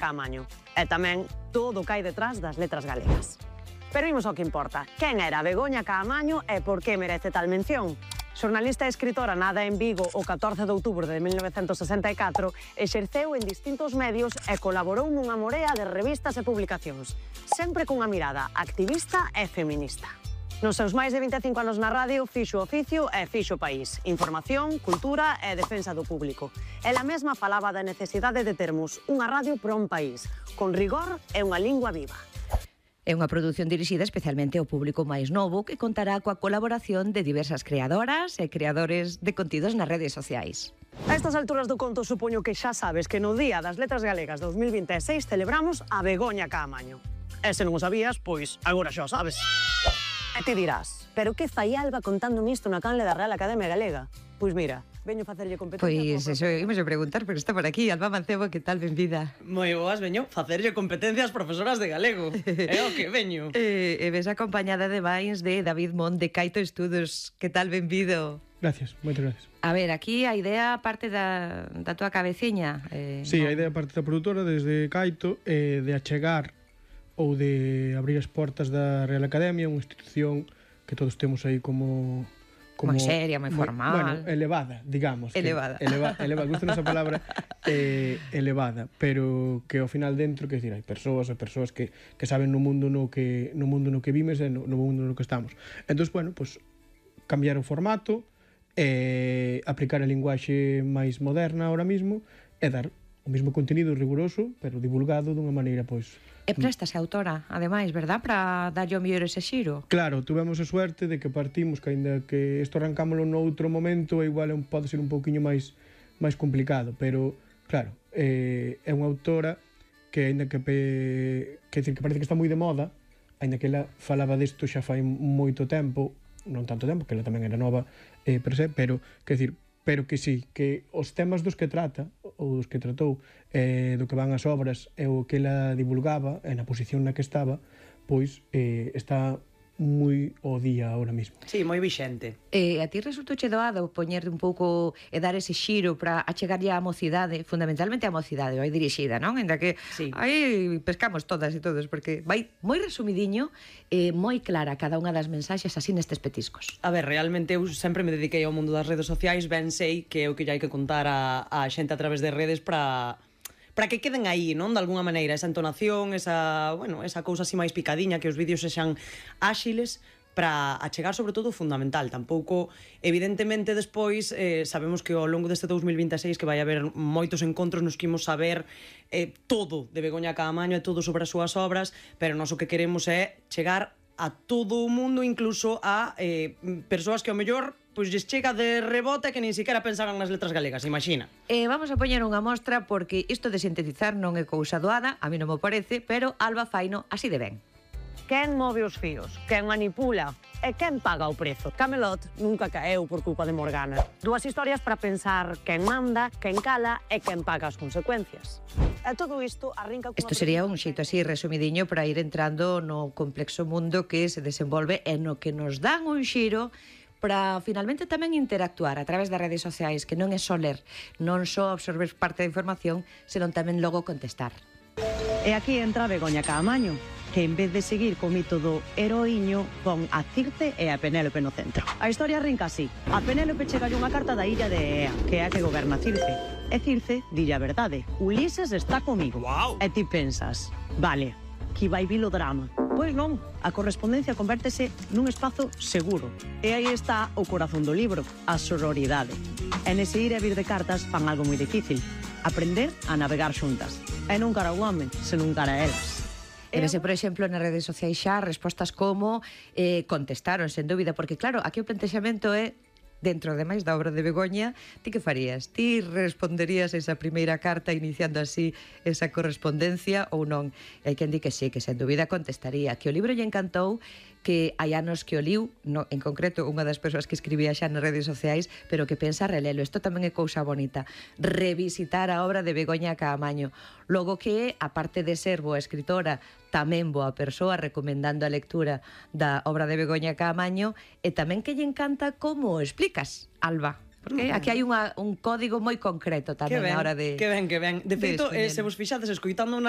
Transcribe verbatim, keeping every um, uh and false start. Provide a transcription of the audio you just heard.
Caamaño. E tamén todo o que hai detrás das letras galegas. Pero imos ao que importa. Quen era Begoña Caamaño e por que merece tal mención? Xornalista e escritora nada en Vigo o catorce de outubro de mil novecentos sesenta e catro, exerceu en distintos medios e colaborou nunha morea de revistas e publicacións, sempre cunha mirada activista e feminista. Nos seus máis de vinte e cinco anos na radio, fixo oficio e fixo país. Información, cultura e defensa do público. Ela mesma falaba da necesidade de termos unha radio para un país, con rigor e unha lingua viva. É unha produción dirixida especialmente ao público máis novo que contará coa colaboración de diversas creadoras e creadores de contidos nas redes sociais. A estas alturas do conto supoño que xa sabes que no Día das Letras Galegas dos mil vinte e seis celebramos a Begoña Caamaño. E se non o sabías, pois agora xa o sabes. E ti dirás, pero que fai Alba contándome isto na canle da Real Academia Galega? Pois mira, veño facerlle competencia... Pois eso, imos a preguntar, pero está por aquí, Alba Mancebo, que tal, benvida? Moi boas, veño facerlle competencia ás profesoras de galego. É o que veño. E, e ves acompañada de Bains de David Mont de Caito Estudos. Que tal, benvido? Gracias, moitas gracias. A ver, aquí a idea parte da, da tua cabeciña. Eh, Sí, no? a idea parte da produtora desde Caito eh, de achegar ou de abrir as portas da Real Academia, unha institución que todos temos aí como... Moi seria, moi formal. Bueno, elevada, digamos. Elevada. Que, eleva, eleva, gusta esa palabra eh, elevada, pero que ao final dentro, que decir, hai persoas e persoas que, que saben no mundo no que no mundo no que vimes e no, no mundo no que estamos. Entón, bueno, pues, cambiar o formato, eh, aplicar a linguaxe máis moderna ahora mismo e dar o mesmo contido riguroso, pero divulgado dunha maneira, pois... E préstase a autora, ademais, verdad, para darlle o mellor ese xiro? Claro, tuvemos a suerte de que partimos, que aínda que isto arrancámoslo noutro momento, igual é un, pode ser un pouquiño máis máis complicado, pero, claro, eh, é unha autora que aínda que, pe, que, decir, que parece que está moi de moda, aínda que ela falaba disto xa fai moito tempo, non tanto tempo, que ela tamén era nova eh, per se, pero, que decir, pero que sí, que os temas dos que trata ou dos que tratou, eh, do que van as obras e o que ela divulgaba e na posición na que estaba, pois eh, está moi ao día ahora mismo. Sí, moi vixente. E a ti resultou che doado poñer un pouco e dar ese xiro para achegarlle á mocidade, fundamentalmente á mocidade, vai dirixida, non? Ainda que sí. aí pescamos todas e todos, porque vai moi resumidiño e moi clara cada unha das mensaxes así nestes petiscos. A ver, realmente eu sempre me dediquei ao mundo das redes sociais, ben sei que é o que lle hai que contar a, a xente a través de redes para... para que queden aí, non? De alguna maneira, esa entonación, esa, bueno, esa cousa así máis picadiña, que os vídeos sexan áxiles para achegar sobre todo o fundamental. Tampouco, evidentemente, despois eh, sabemos que ao longo deste dous mil vinte e seis que vai haber moitos encontros nos que imos saber eh, todo de Begoña Caamaño e todo sobre as súas obras, pero nós o que queremos é chegar a todo o mundo, incluso a eh, persoas que ao mellor pois lles chega de rebote que nin siquiera pensaban nas letras galegas, imagina. Eh, vamos a poñer unha mostra porque isto de sintetizar non é cousa doada, a mí non me parece, pero Alba faino así de ben. Quen move os fíos? Quen manipula? E quen paga o prezo? Camelot nunca caeu por culpa de Morgana. Dúas historias para pensar quen manda, quen cala e quen paga as consecuencias. E todo isto arrinca... Isto sería un xeito así resumidiño para ir entrando no complexo mundo que se desenvolve e no que nos dan un xiro para finalmente tamén interactuar a través das redes sociais, que non é só ler, non só absorber parte da información, senón tamén logo contestar. E aquí entra Begoña Caamaño, que en vez de seguir co mito do heroíño, pon a Circe e a Penélope no centro. A historia arrinca así. A Penélope chega unha carta da illa de Ea, que é a que goberna Circe. E Circe dille a verdade. Ulises está comigo. Wow. E ti pensas, vale, que vai vir o drama. Pois non, a correspondencia convértese nun espazo seguro. E aí está o corazón do libro, a sororidade. E nese ir e vir de cartas fan algo moi difícil. Aprender a navegar xuntas. E non cara ao home, senón cara a elas. E vese, por exemplo, nas redes sociais xa respostas como eh, contestaron, sen dúbida, porque claro, aquí o plantexamento é dentro de máis da obra de Begoña, ti que farías? Ti responderías esa primeira carta iniciando así esa correspondencia ou non? E hai quen di que sí, que sen dúbida contestaría, que o libro lle encantou, que hai anos que o liu, no, en concreto unha das persoas que escribía xa nas redes sociais, pero que pensa relelo. Isto tamén é cousa bonita, revisitar a obra de Begoña Caamaño. Logo que, aparte de ser boa escritora, tamén boa persoa recomendando a lectura da obra de Begoña Caamaño, e tamén que lle encanta como o explicas, Alba. Porque aquí hai unha, un código moi concreto tamén na hora de... Que ben, que ben. De feito, eh, se vos fixades escoitando unha